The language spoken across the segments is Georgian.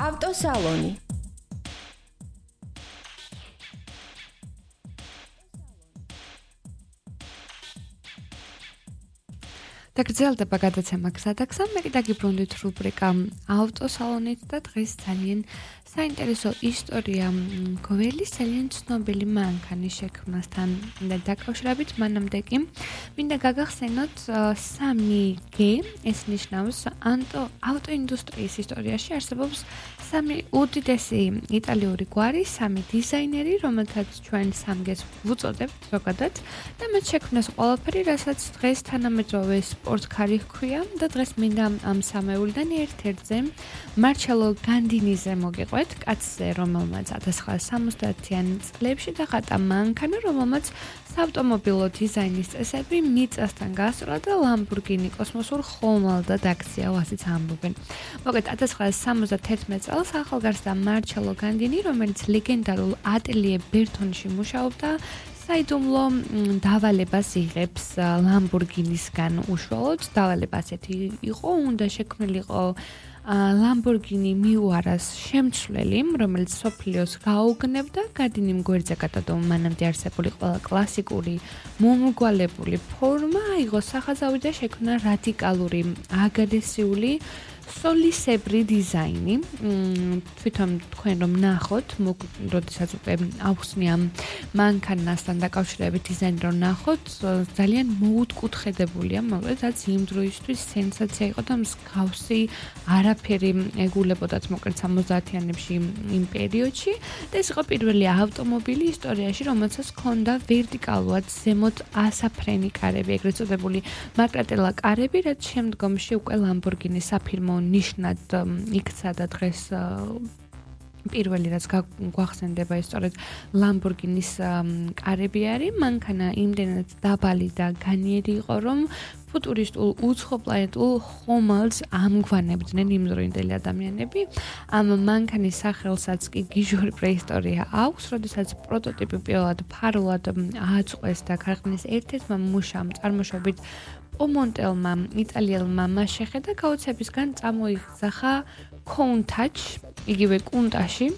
ავტოსალონი. დაგრძელდება გადაცემა გზადაგზა, მე კიდე გიბრუნდით რუბრიკა ავტოსალონით და დღეს ძალიან საინტერესო ისტორია გველის ძალიან ცნობილი მანქანის შექმნასთან დაკავშირებით. მანამდე კი მინდა გაგახსენოთ 3G, ეს ნიშნავს ავტოინდუსტრიის ისტორიაში არსებობს 3 უდიდესი იტალიური გვარი, 3 დიზაინერი, რომელთაც ჩვენ 3G-ს ვუწოდებთ ზოგადად და მათ შექმნეს ყველაფერი, რასაც დღეს თანამედროვე სპორტკარი ჰქვია და დღეს მინდა ამ სამეულიდან ერთ-ერთზე მარჩელო განდინიზე მოგიყვეთ, კაცზე, რომელმაც 1970-იან წლებში დახატა მანქანა, რომელმაც საავტომობილო დიზაინის წესები მიწასთან გასწვლა და ლამბორგინი კოსმოსურ ხომალდად აქცია, ასეც ამბობენ. მოგეთ 1971 წელს ახალგაზრდა მარჩელო განდინი, რომელიც ლეგენდარულ ატელიე ბერთონში მუშაობდა, საიდუმლო დავალებას იღებს ლამბორგინისგან უშუალოდ. დავალება ასეთი იყო, უნდა შექმნილიყო ლამბორგინი მიუარას შემცვლელი, რომელიც სოფლიოს გაუგნებდა, განდინიმ გვერდზე გადადო მანამდე არსებული ყველა კლასიკური მომრგვალებული ფორმა, აიღო სახაზავი და შექმნა რადიკალური აგრესიული სოლისებრი დიზაინი. თვითონ თქვენ რომ ნახოთ, როდესაც უკვე აუხსნია მანქანასთან დაკავშირებით დიზაინი რომ ნახოთ, ძალიან მოუთკუთხედებულია, მოკლედ იმ დროისთვის სენსაცია იყო და მსგავსი არაფერი ეგულებოდათ მოკლედ 70-იანებში იმ პერიოდში და ეს იყო პირველი ავტომობილი ისტორიაში, რომელსაც ჰქონდა ვერტიკალურად ზემოთ ასაფრენი კარები, ეგრეთ წოდებული მაკრატელა კარები, რაც შემდგომში უკვე ლამბორგინის საფირმო ნიშნად იქცა და დღეს პირველი რაც გვახსენდება ის სწორედ ლამბორგინის კარები არის. მანქანა იმდენად დაბალი და განიერი იყო, რომ ფუტურისტულ უცხოპლანეტულ ხომალდს ამგვანებდნენ იმდროინდელი ადამიანები. ამ მანქანის სახელსაც კი გიჟური პრეისტორია აქვს, როდესაც პროტოტიპი პირველად ფარულად ააწყვეს და ქარხნის ერთ-ერთმა მუშამ წარმოშობით პომონტელმა იტალიელმა მას შეხედა გაოცებისგან წამოიძახა Countach, იგივე კუნტაში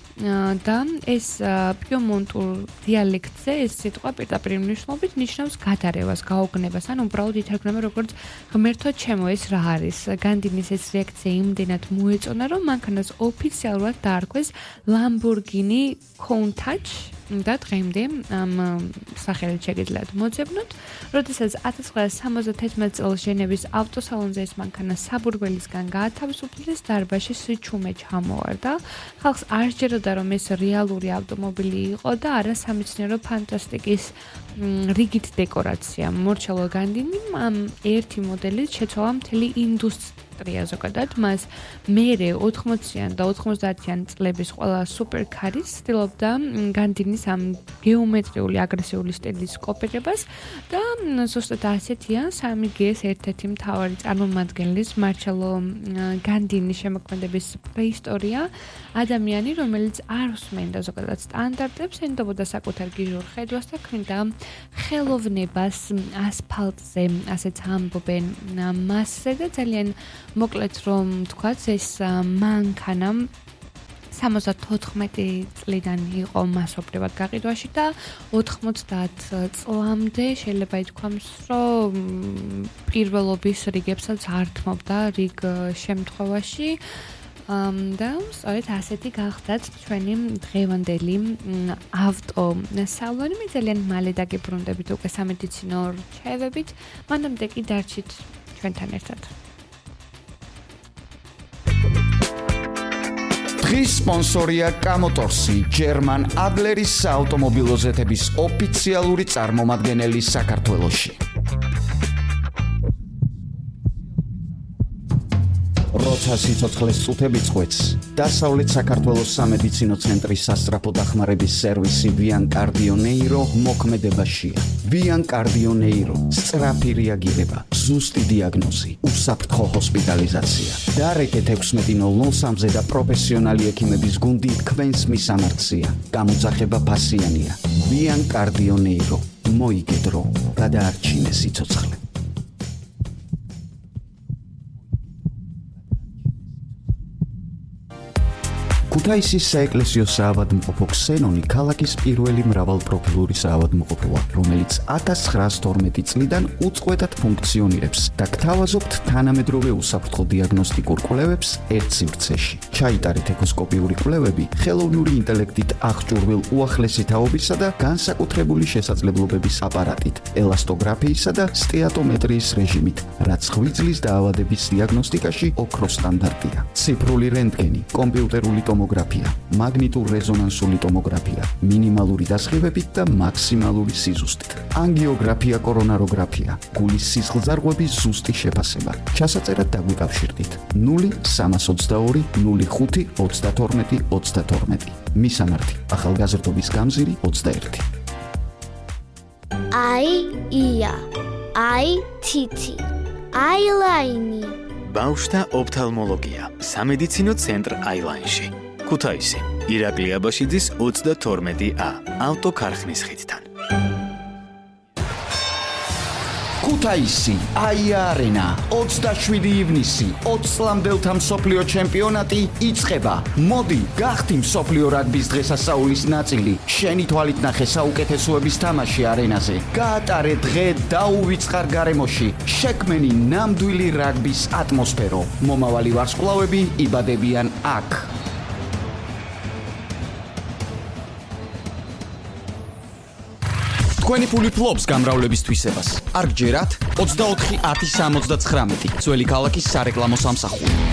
და ეს პიემონტურ დიალექტზე ეს სიტყვა პირდაპირ მნიშვნელობით ნიშნავს გადარევას, გაოგნებას, ან უბრალოდ ითარგმნება როგორც ღმერთო ჩემო, ეს რა არის? განდინის ეს რეაქცია იმდენად მოეწონა, რომ მანქანას ოფიციალურად დაარქვეს Lamborghini Countach და დღემდე ამ სახელით შეგიძლიათ მოძებნოთ. როდესაც 1971 წელს ჟენევის ავტოსალონზე ეს მანქანა საბურველისგან გაათავისუფლეს, დარბაზში სიჩუმე ჩამოვარდა. ხალხს არ სჯეროდა, რომ ეს რეალური ავტომობილი იყო და არა სამეცნიერო ფანტასტიკის რიგით დეკორაცია. მარჩელო განდინიმ ამ ერთი მოდელით შეცვალა მთელი ინდუსტრია ზოგადად. მას მერე 80-იან და 90-იან წლების ყველა სუპერკარის ცდილობდა განდინის ამ გეომეტრიული აგრესიული სტილის კოპირებას და ზუსტად ასეთია 3G-ს ერთ-ერთი მთავარი წარმომადგენლის მარჩელო განდინის შემოქმედების პრეისტორია. ადამიანი, რომელიც არ უსმენდა ზოგადად სტანდარტებს, ენდობოდა საკუთარ გიჟურ ხედვას და ქმნიდა ხელოვნებას ასფალტზე, ასეც ამბობენ მასზე და ძალიან მოკლედ რომ თქვათ, ეს მანქანა 74 წლიდან იყო მასობრივად გაყიდვაში და 90 წლამდე შეიძლება ითქვამს, რომ პირველობის რიგებსაც ართმობდა რიგ შემთხვევაში. და სწორედ ასეთი გახდათ ჩვენი დღევანდელი ავტოსალონი. მე ძალიან მალე დაგიბრუნდებით უკვე სამედიცინო რჩევებით, მანამდე კი დარჩით ჩვენთან ერთად. დღის სპონსორია კამოტორსი, ჯერმან ადლერის საავტომობილო ზეთების ოფიციალური წარმომადგენელი საქართველოში. როცა სიცოცხლეს წუთები წყვეტს, დასავლეთ საქართველოს სამედიცინო ცენტრის სასწრაფო დახმარების სერვისი Vian Cardio Neuro მოქმედებაშია. Vian Cardio Neuro, სწრაფი რეაგირება, ზუსტი დიაგნოზი, უსაფრთხო ჰოსპიტალიზაცია. დარეკეთ 16:03-ზე და პროფესიონალი ექიმების გუნდი თქვენს მისამართია. გამოძახება ფასიანია. Vian Cardio Neuro, მოიგედრო, გადაარჩინე სიცოცხლე. ქუთაისის საეკლესიო საავადმყოფო ქსენონი ქალაქის პირველი მრავალპროფილური საავადმყოფოა, რომელიც 1912 წლიდან უწყვეტად ფუნქციონირებს და გთავაზობთ თანამედროვე უსაფრთხო დიაგნოსტიკურ კვლევებს ერთ სივრცეში. ჩაიტარეთ ეკოსკოპიური კვლევები ხელოვნური ინტელექტით აღჭურვილ უახლესი თაობისა და განსაკუთრებული შესაძლებლობების აპარატით, ელასტოგრაფიისა და სტეატომეტრიის რეჟიმით, რაც ღვიძლის დაავადების დიაგნოსტიკაში ოქროს სტანდარტია. ციფრული რენტგენი, კომპიუტერული ტომოგრაფია, მაგნიტურ-რეზონანსული ტომოგრაფია, მინიმალური დასხივებით და მაქსიმალური სიზუსტით. ანგიოგრაფია, კორონაროგრაფია, გულის სისხლძარღვების ზუსტი შეფასება. ჩასაწერად დაგვიკავშირდით 0322 05 32 32. მისამართი: ახალგაზრდობის გამზირი 21. ია, თითი, აილაინი. ბავშვთა ოფთალმოლოგია, სამედიცინო ცენტრ აილაინში. ქუთაისი, ირაკლი აბაშიძის 32A, ავტოქარხნის ხიდთან. ქუთაისი, აია არენა, 27 ივნისი, 20 წლამდელთა მსოფლიო ჩემპიონატი იწყება. მოდი, გახდი მსოფლიო რაგბის დღესასწაულის ნაწილი. შენი თვალით ნახე საუკეთესოების თამაში არენაზე. გაატარე დღე დაუვიწყარ გარემოში. შექმენი ნამდვილი რაგბის ატმოსფერო. მომავალი ვარსკვლავები იბადებიან აქ. თქვენი ფული ფლობს გამრავლების თვისებას. არ გჯერათ 24 10 69 ძველი ქალაქის სარეკლამო სამსახური.